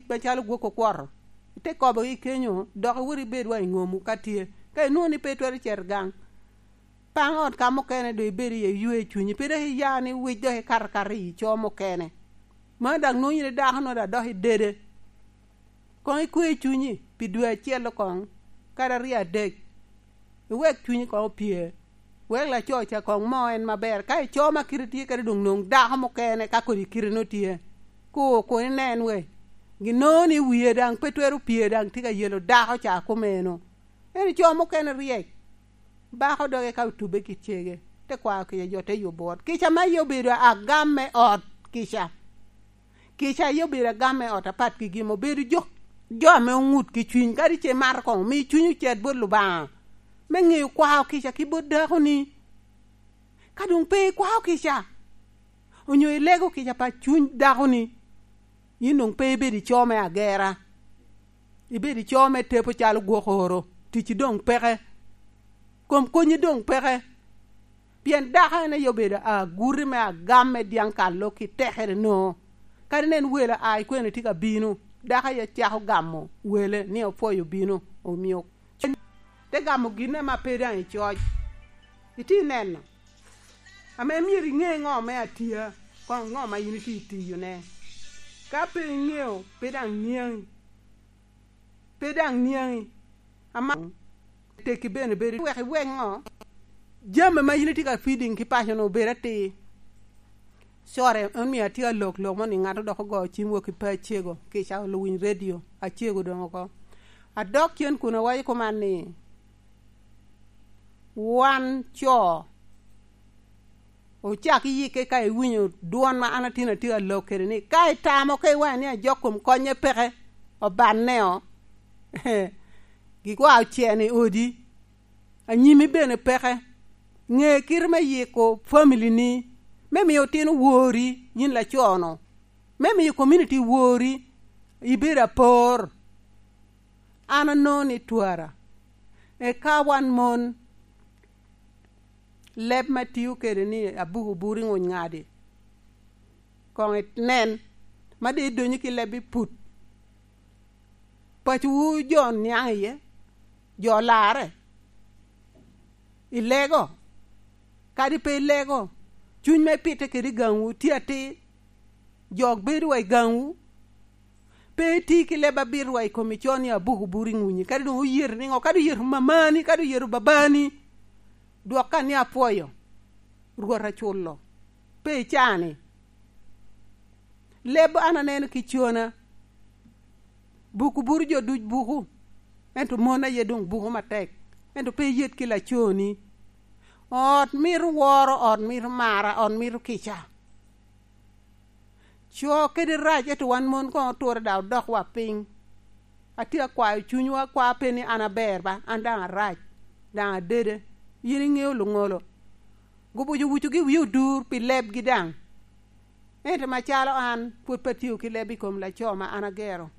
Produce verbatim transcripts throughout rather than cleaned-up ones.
macalo gwok okwoto. Ite kobogi kenyo, dok iwot ibed wa i ngomwu ka tye. Ka inwoŋo ni pe itwero cito gang, paŋ ot ka mukene doŋ ibedo iye ywe cunyi, pe dok iya ni wic dok ikato akata i co mukene. Mano daŋ nwoŋo yin i dako nwoŋo daŋ dok idede. Koŋ ikwe cunyi pi dwe acel koŋ, kadi aryo adek. Iwek cunyi koŋ opye. Wek laco ca koŋ mo en maber. Ka ico ma kite tye kede doŋ noŋ dako mukene ka kodi kite no tye. Ku, kun inen we. Gin noŋo ni wie daŋ pe twero pye daŋ tye ka yelo dako ca kumeno. En ico mukene ryek. Bako doge ka otube ki cege. Te kwao kica jo te yubo ot. Kica ma iye obedo agam me ot kica. Kica aye obedo agam me ot apat ki gin obedo jo, jo ame oŋut ki cwiny, kadi ce mato koŋ omi cwiny ocet bot Lubanga, me ŋeyo kwao kica ki bot dakoni. Ka doŋ pe ikwao kica, onyo ilego kica pa cwiny dakoni, yin doŋ pe ibedo ico me agera. Ibedo ico me tepo calo gwok oro, ticci doŋ peke, kom konyi doŋ peke. Pien dako en aye obedo aguti me agam me dyaŋ kalo ki tekere no. Kadi nen welo a ikwene tye ka bino, dako aye cako gamo wele ni opwoyo bino, omio te gamo gin ame pe daŋ icoc. Itye neno, ame myero iŋe ŋo me atia, koŋ ŋo ma yin itye itiyone. Ka pe iŋeo, pe daŋ niaŋi. Pe daŋ niaŋi. Ama tekki bene bedo wek iwek ŋo? Jami ma yin itye ka feeding ki paco-nu obed atir. Core, en mio atye alok lok mo ni ŋat odok ogo cim wok i pe acego, kica oluwiny redio, acego doŋ oko. Adok cen kun awaco kuman ni, wan co, ocak iyikke ka iwinyo dwon ma an atin atye alok kede ni, ka itamo ka iwaco ni ajok kom konye peke, obanneo, gikwa oceno i odi, anyimi bene peke, ŋe kite me yiko family-ni, me miyo otino wori, yin laco-nu, me miyo community wori, ibedo apor. An anongo ni twara, eka wan mon, leb ma tio kede ni abuku buri ŋuny ŋadi, koŋ inen, ma de idonyo ki leb i put. Pacowu jo niaŋ iye, jo larre. Ilego, kadi pe ilego, cuny ma ipitte kede i gaŋwu tye atir. Jo bedo wa i gaŋwu, pe iti ki leb abit wa i kom ico ni abuku buri ŋunyi, kadi doŋ oyeto niŋo, kadi oyeto mamani, kadi oyeto babani, dwok ka ni apwoyo, Rwot aculo, pe icani. Leb an aneno ki cona, buku buro jo duc buku, ento mon aye doŋ buku matek, ento pe iyet ki laconi. Ot mito woro, ot mito mara, ot mito kica. Co kede rac, ento wan mon koŋ oturre daŋ odok wa piny. Atye akwayo cunywu, akwa pe ni an aber ba, an daŋ arac, daŋ adede. Yin iŋeo luŋolo. Gubuco wucugi wie odur pi lebgi daŋ. Ento macalo an, pwod pe atio ki leb i kom laco ma an agero.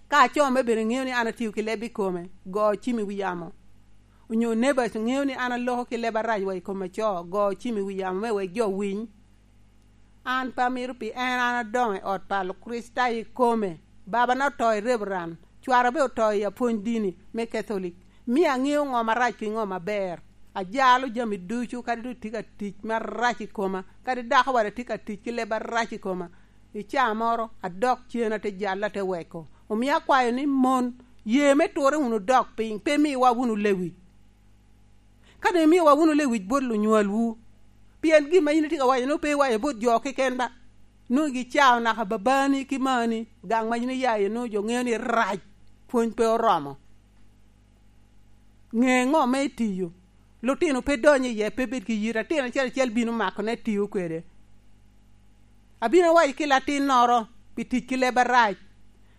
Ka aco me bene ŋeo ni an atio ki leb i kome, go cim i wi yamo. Onyo neighbors ŋeo ni an aloko ki leb arac wa i kom aco, go cim i wi yamo me wek jo winy. An pe amito pi en, an adoŋo i ot pa Kricitayo ikome. Babana oto i Reverend, cwara be oto i apwony dini me Catholic. Mio aŋeo ŋo marac ki ŋo maber. Ajalo jami ducu, kadi doŋ tye ka tic marac i koma, kadi dako wada tye ka tic ki leb arac i koma. I caa moro, adok cen ate jalla, ate weko. Omio akwayo ni mon, ye me turre wunu dok piny, pe miwa wunu lewic. Ka doŋ imiowa wunu lewic bot lunywalwu, pien gin ma yin itye ka waco nwoŋo pe iwaco bot jo keken ba, nwoŋo gicao naka babani ki mani, gang ma yin iya iye nwoŋo jo ŋeo ni rac, pwony pe oromo. Ŋe ŋo me itiyo? Lutino pe donyo iye, pe bed ki yit. Atin acel acel bino makone, tiyo kwede. Abino awaco ki latinnoro pi tic ki leb arac.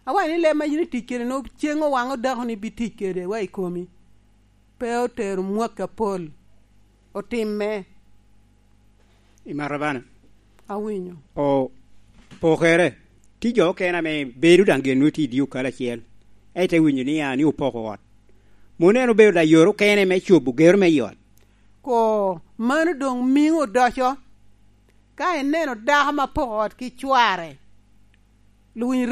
Awaco ni leb ma yin itic kede nwoŋo ceŋ owaŋo dakoni bi tic kede wa i komi. Pe otero mwakki apol. Otimme. Imato bene? Awinyo. O, pokere, tye jo okene ame bedo daŋ gin nwoŋo tye i dye okalo acel, ento iwinyo ni a, ni opoko ot. Mano en obedo layot okene me cobo gero me i ot. Ko, mano doŋ miŋo odoco. Ka ineno dako ma poko ot ki cware, luwiny